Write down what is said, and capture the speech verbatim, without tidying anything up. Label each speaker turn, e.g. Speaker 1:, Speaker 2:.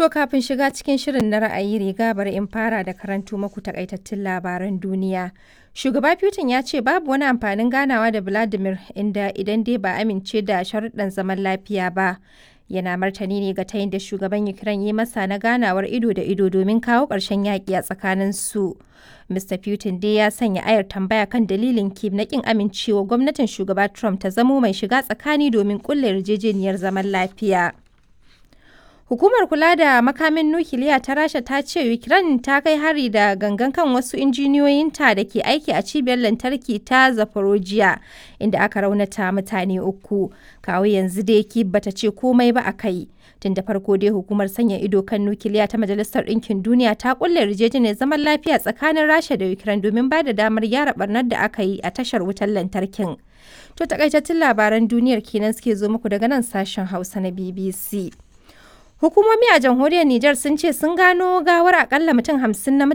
Speaker 1: To kafin shiga cikin shirin na ra'ayi riga bari in fara da karanto maku takaitattun labaran duniya. Shugaba Putin ya ce babu wani amfanin ganawa da Vladimir inda idan dai ba amince da sharuɗan zaman lafiya ba. Yana martani ne ga tayin da shugaban Ukraine yi masa na ganawar ido da ido domin kawo ƙarshen yaƙi a tsakanin su. Mister Putin dai ya sanya ayar tambaya kan dalilin Kyiv na ƙin amincewa gwamnatin shugaba Trump ta zamo mai shiga tsakani domin ƙulla yarjejeniyar zaman lafiya. Hukumar kula da makamin nukiliya ta Rasha ta ce Ukraine ta kai hari da gangan kan wasu injiniyoyinta da ke aiki a cibiyar lantarki ta Zaporozhye, inda aka raunata mutane uku. Kawo yanzu dai Kyiv bata ce komai ba a kai. Tun da farko dai hukumar sanya ido kan nukiliya ta Majalisar Ɗinkin Duniya ta kulle yarjejeniyar zaman lafiya tsakanin Rasha da Ukraine domin ba da damar gyara barnar da aka yi a tashar wutar lantarkin. To takaitattun labaran duniyar kenan suke zo muku daga nan sashen Hausa na B B C. Hukumomi a jamhuriyar Nijar sun ce sun gano gawar akalla mutum hamsin na mutane